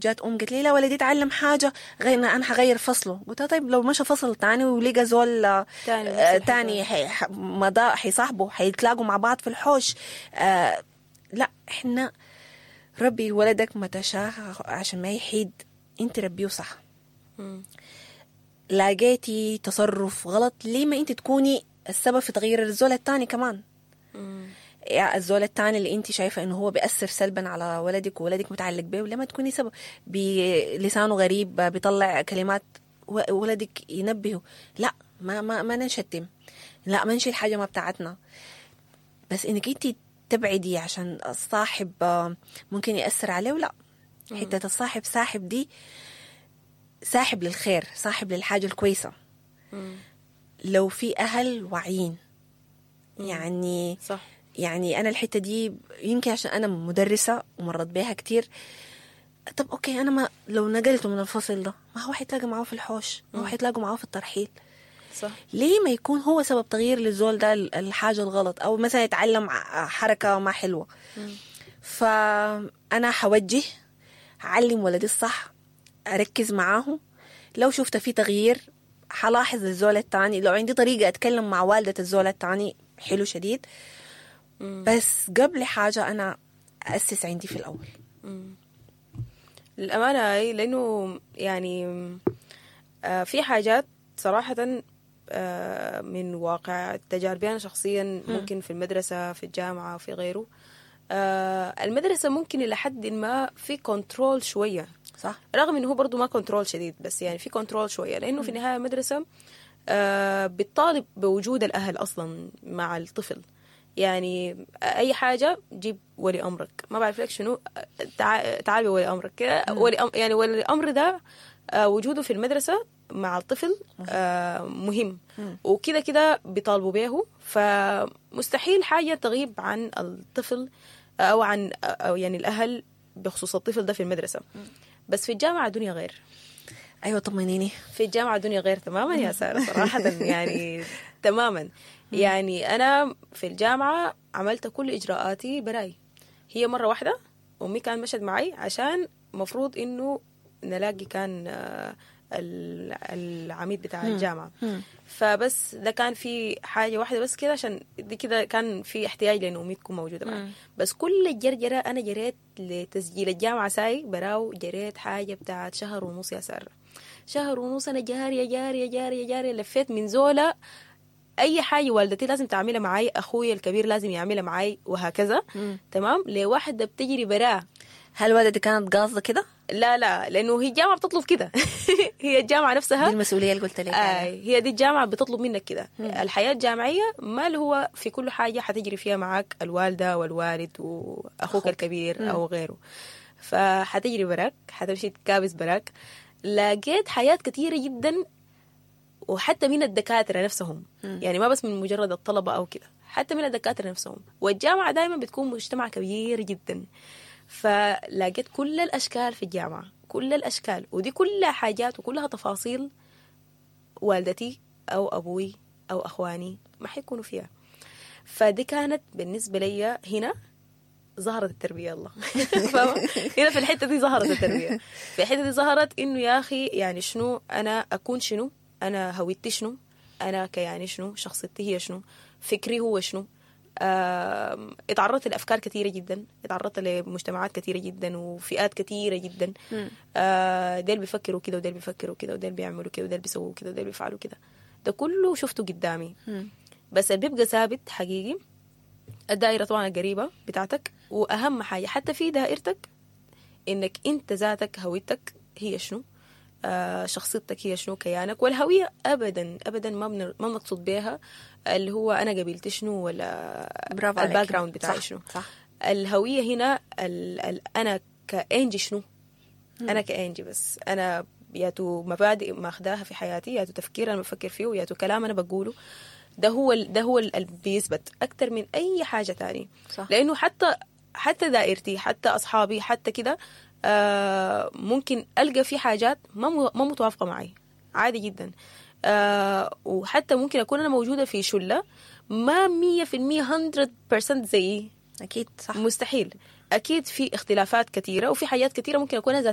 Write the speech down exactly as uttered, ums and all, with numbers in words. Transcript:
جات ام قالت لي لا ولدي اتعلم حاجة غير انا حغير فصله. قلت لها طيب لو مشى فصل تاني ولقى زول آه، تاني نفس آه، الحكاية. تاني حي- ح- مضى حيصاحبه، حيتلاقوا مع بعض في الحوش. آه لا، احنا ربي ولدك ما تشاء عشان ما يحيد، انت ربيه صح. مم. لاقيتي تصرف غلط، ليه ما انت تكوني السبب في تغيير الزول التاني كمان؟ مم. يعني الزول التاني اللي انت شايفه انه هو بيأثر سلبا على ولدك وولدك متعلق به، لما تكوني سبب؟ بلسانه غريب، بيطلع كلمات، و- ولدك ينبهه، لا ما ما ما نشتم، لا ما نشيل حاجة ما بتاعتنا. بس انك انت تبعدي عشان الصاحب آه، ممكن يأثر عليه، لا. حتة الصاحب ساحب دي، ساحب للخير، ساحب للحاجة الكويسة. مم. لو في اهل واعيين يعني. صح. يعني انا الحتة دي يمكن عشان انا مدرسه ومرت بيها كتير. طب okay، انا ما لو نقلته من الفصل ده، ما هو حيتلاقى معاه في الحوش، ما هو حيتلاقوا معاه في الترحيل. صح. ليه ما يكون هو سبب تغيير للزول ده الحاجة الغلط، او مثلا يتعلم ع- حركة ما حلوه؟ فانا حوجه، اعلم ولدي الصح، اركز معاه. لو شفت في تغيير حلاحظ الزول التاني. لو عندي طريقه اتكلم مع والده الزول التاني، حلو شديد. بس قبل حاجة انا اسس عندي في الاول. للأمانة أي، لأنه يعني آه، في حاجات صراحة آه، من واقع تجاربي أنا شخصيا، ممكن في المدرسة، في الجامعة، في غيره. آه، المدرسة ممكن إلى حد ما في control شوية، صح رغم انه هو برضه ما control شديد، بس يعني في control شويه، لانه في النهاية المدرسة آه، بتطالب بوجود الاهل اصلا مع الطفل. يعني اي حاجة جيب ولي امرك، ما بعرف لك شنو، تع- تعال بولي امرك كده. ولي أم يعني ولي الامر ده آه، وجوده في المدرسة مع الطفل آه، مهم، وكده كده بيطالبوا به. فمستحيل حاجة تغيب عن الطفل او عن او يعني الاهل بخصوص الطفل ده في المدرسه. بس في الجامعة دنيا غير. ايوه، طمنيني. في الجامعة دنيا غير تماما يا سارة، صراحة يعني تماما. يعني أنا في الجامعة عملت كل إجراءاتي براي. هي مرة واحدة أمي كان مشت معي عشان مفروض إنه نلاقي كان آه، ال- العميد بتاع الجامعة، فبس ده كان في حاجة واحدة بس كده، عشان دي كده كان في احتياج لأنه أمي تكون موجودة معي. بس كل الجرجرة أنا جريت لتسجيل الجامعة ساي براو، جريت حاجة بتاعت شهر ونص يا سارة، شهر ونص أنا جارية جارية جارية جارية. لفيت من زولة، اي حاجة والدتي لازم تعملها معي، اخوي الكبير لازم يعملها معي، وهكذا. تمام، لواحدة بتجري براه. هل والدتك كانت قاصده كده؟ لا لا، لانه هي الجامعة بتطلب كده، هي الجامعة نفسها. دي المسؤولية اللي قلت لك آه. عليها. هي دي الجامعة بتطلب منك كده. الحياة الجامعية ما اللي هو في كل حاجة حتجري فيها معاك الوالدة والوالد واخوك الكبير او غيره، فحتجري براك، حتمشي تكابس براك. لقيت حاجات كثيرة جدا، وحتى من الدكاترة نفسهم، يعني ما بس من مجرد الطلبة أو كده، حتى من الدكاترة نفسهم. والجامعة دائما بتكون مجتمع كبير جدا، فلقيت كل الأشكال في الجامعة، كل الأشكال، ودي كلها حاجات وكلها تفاصيل والدتي أو أبوي أو أخواني ما حيكونوا فيها. فدي كانت بالنسبة لي هنا ظهرت التربية الله، فاهمة؟ هنا في الحتة دي ظهرت التربية، في الحتة دي ظهرت إنه يا أخي يعني شنو أنا أكون، شنو أنا، هويتي شنو، أنا كياني شنو، شخصيتي هي شنو، فكري هو شنو. آم، اتعرضت لأفكار كثيرة جدا، اتعرضت لمجتمعات كثيرة جدا وفئات كثيرة جدا. آه، ديل بيفكروا كده وديل بيفكروا كده وديل بيعملوا كده وديل بيسووا كده وديل بيفعلوا كده. ده كله شفته قدامي. بس اللي بيبقى ثابت حقيقي الدائرة طبعا القريبة بتاعتك، وأهم حاجة حتى في دائرتك إنك أنت ذاتك هويتك هي شنو، آه شخصيتك هي شنو، كيانك. والهوية أبدا أبدا ما بن- ما بنقصد بها اللي هو أنا قبيلتي شنو ولا برافو عليك. ال background بتاعي صح، شنو. صح. الهوية هنا ال ال أنا كإنجي شنو، أنا كإنجي بس أنا ياتو مبادئ ماخداها في حياتي، ياتو تفكير أنا بفكر فيه، ياتو كلام أنا بقوله، ده هو ال- ده هو اللي بيثبت أكتر من أي حاجة تانية. صح. لأنه حتى حتى دائرتي، حتى أصحابي، حتى كده، آه ممكن ألقى في حاجات ما مو- ما متوافقة معي، عادي جدا. آه وحتى ممكن أكون أنا موجودة في شلة ما مية في المية مية في المية زيي. اكيد، صح. مستحيل، اكيد في اختلافات كثيرة وفي حاجات كثيرة ممكن اكون انا ذاتي